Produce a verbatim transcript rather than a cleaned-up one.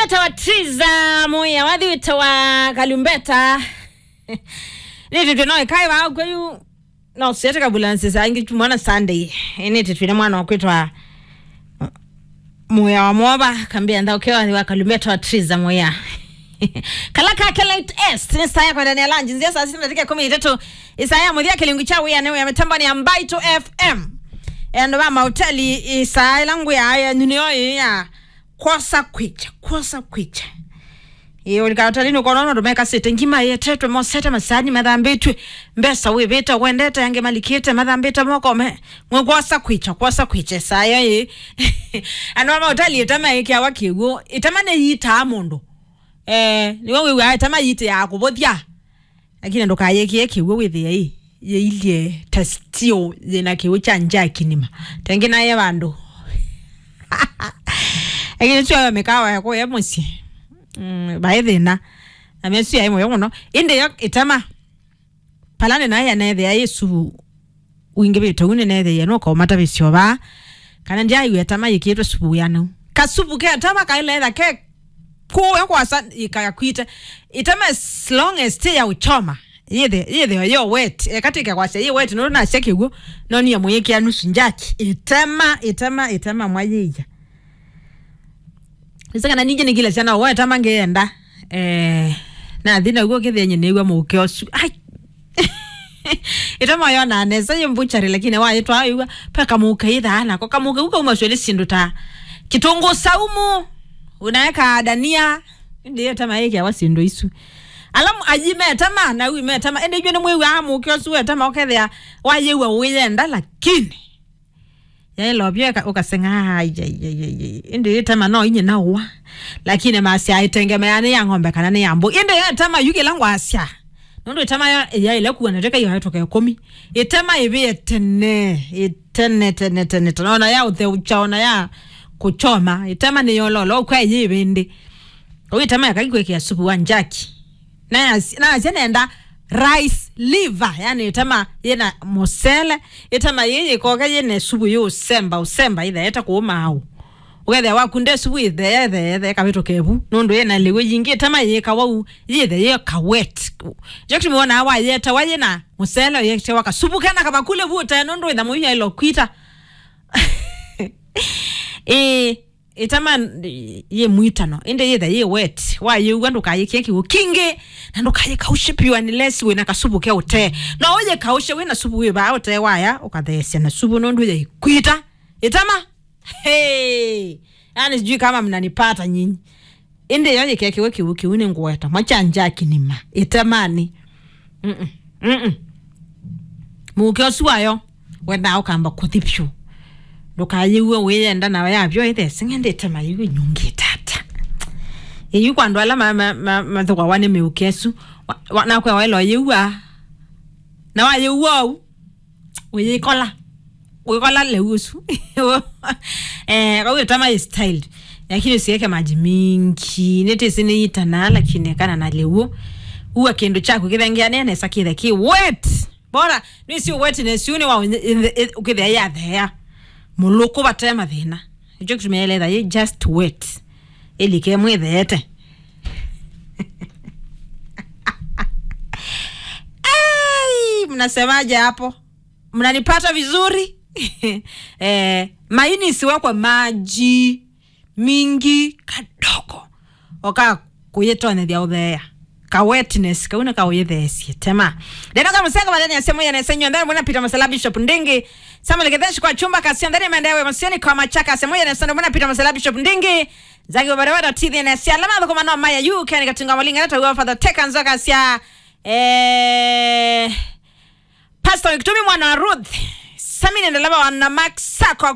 Tawa Triza Muya, wathi wĩtawa Kalumbeta. Nĩtĩtwe no ĩkaĩ vaa kweyu, no siete kabula nsisa ingi mwana Sunday. Nĩtĩtwe nĩ mwana wakwĩtwa Muya wa Mwoba, kambia ntha ũkeo wa Kalumbeta wa Triza Muya. Kala kake late est, nĩ saa ya kwendania lunch, nzia saa sita na dakika kũmi na itatũ, isaa ya mũthia kĩlungu kya wĩa nĩ wĩa mĩtamboni ya Mbaitu F M. Andũ va mahoteli, isaa ĩla ngwĩa yenyu nĩyo ĩĩ ya kwosa kwĩkya, kwosa kwĩkya. Ĩĩ, ũlika hotelini ũkona andũ mekasĩte ngima ĩetetwe, mosete masani mathambĩtw'e, mbesa wĩvĩte, wendete, angĩ malikĩte, mathambĩte moko me, ng'we kwosa kwĩkya, kwosa kwĩkya, saa ĩyo ĩĩ. Andũ ma mahoteli ĩtama ĩkĩawa kĩw'ũ, ĩtama nĩyitaa mũndũ. Eh, nĩwe wĩw'aa ĩtama yitĩaa kũvũthya. Lakini ndũkayĩkĩe kĩw'ũ wĩthĩe ĩ, yĩilye ta steel, yĩna kĩw'ũ kya njaki nima. Tengĩ naye vandũ. Lakini sio yo mĩkawa ya kũya mũsyĩ. Mm, vaĩ thĩna. Na mesu yaĩ mũyo mũno. Ĩndĩ yo ĩtama. Palane naye anethĩa ĩ suvu wingĩvĩte ũu nĩneethĩie nũkaũmata vĩsyo vaa, kana ndyaiw'a ĩtama yĩkĩĩtwe suvu wĩanau. Kasuvu ke ĩtama kaĩleetha ke kũya kwasa ĩkakwite. Ĩtama as long as ti ya ũchoma, yĩthe, yĩthĩo yo wet. Eka tike kwasya yĩ wet, nũndũ nasya kĩw'ũ, no niye mũyĩkĩa nusu njaki. Ĩtama, ĩtama, ĩtama mwayĩia. Nĩsĩ kana ningĩ nĩkĩlasya na ũweta mangĩenda. Eh, nathi naw'o kĩthĩenye nĩw'a mũũke ũsu. Ai! Ĩtama yona nesa yĩ mbuchari, lakini wayĩtwaa wĩw'a, pe kamũũke yĩthaa nako. Kamũũke u kaumasw'e nĩ syĩndũ ta kĩtũngũ saumu, unaeka dania. Ĩndĩ ĩtama yĩkĩawa syĩndũ isu. Alamu ayi metama, na ui metama. Ĩndĩ inyuĩ nĩmwĩw'aa mũũke ũsu wetama, ũkethĩa wayĩw'a ũyenda, lakini yaĩlovya ũka-, ũkaseng'a, ai, ai, ai, ai, ai. Ĩndĩ ĩtama no inye naũa. Lakini masya ĩtengemeaa nĩ ya ng'ombe kana nĩ ya mbũi. Ĩndĩ ĩtama yu kĩla ngwasya. Nũndũ ĩtama ya, yaĩle kuwa na teka iwatũka ĩkũmi. Ĩtama ĩvĩe tene, ĩtene, tene, tene, tene. Ona ya ũtheũkya, ona ya kũchoma. Ĩtama nĩ yololo, ũkw'a ĩyĩ ĩvĩndĩ. Ũyũ ĩtama yakaki kwĩkĩa supu wa njaki. Na yas-, na yasya nenda rice liver, yani ĩtama yĩna mũsele, ĩtama yĩĩ yĩkoke yĩna supu yĩ ũsemba, ũsemba ĩtheete kũũma au. Ũkethĩa waku nde supu ĩtheetheethe ĩkavĩtũka ĩvu, nũndũ yĩna lĩw'ũ yingĩ, ĩtama yĩkawa u, yĩthe yĩ kawet. Jokti mwonaa wayetawa yĩna mũsele, ũyetawa kasupu kena kavakule vu ũtee, nũndũ ĩtha mũyu yaĩlo kwita. Ĩĩ. Ĩtama yĩ mwitano, ĩndĩ yĩtha yĩ wet. Wayĩw'a ndũkayĩkĩe kĩw'ũ kingĩ, na ndũkayĩkaushe piũ unless wĩna kasupu ke ũtee. No ũyĩkaushe wĩna supu wĩ vaa ũtee waya, ũkatheesya na supu nũndũ yaikwita. Ĩtama? Hey! Yani sijui kama mnanipata nyinyi. Ĩndĩ yo yĩkekiwe kĩw'ũ kĩu nĩ ngũeta. Mwacha njaki nima. Ĩtamani. Mm-mm. Mm-mm. Mũũke ũsu wayo, wendaa ũkamba kũthi vyũ. Ndũkayĩw'e wĩyenda nawe yavyo ĩtheseng'e ndĩtema yĩu ĩnyungĩte ata. Ĩyu kwa andũ ala ma-, ma-, ma-, mathũkwawa nĩ mĩũke ĩsu. Wa-, wa-, nakwe waĩlo yĩw'a. Na wayĩw'a ũu, ũyĩkola. Ũyĩkola lĩu ũsu. Eh, kwa hiyo tama is styled. Lakini usiweke maji mingi. Nĩtĩsĩ nĩyitana, lakini kana na lĩu. Ua kĩndũ kyaku kĩthengeanĩa nesa kĩthe kĩ wet. Bora, nĩsĩ wetness yu nĩ wa ũkĩthĩa yathea. Mũlũkũ vate mathĩna. Nĩkyo kĩtumi yaĩle etha yĩ just wet. Ĩlike mwĩtheete. Ai, mnasemaje hapo? Mnanipata vizuri? Eh, maini isiwekwe maji mingi kadogo. Oka kũyĩtonyethya ũtheea. Ka wetness, kau nĩ kaũyĩtheesye. Tema. Ndeno ka mũsengo mathenya semu ya nesa nyonthe, mwana Peter Masala Bishop Ndingi. Samuel Gethesh kwa chumba kasi, ndani maendewe masioni kwa machaka, semu ya nesa, mwana Peter Masala Bishop Ndingi. Zagi wa barabara T V N S ya alama thukuma no maya yu, kani katunga malinga na tawa Father Teka Nzoka sya. Eh, Pastor Victoria mwana wa Ruth. Samine ndalaba wa na Max Sako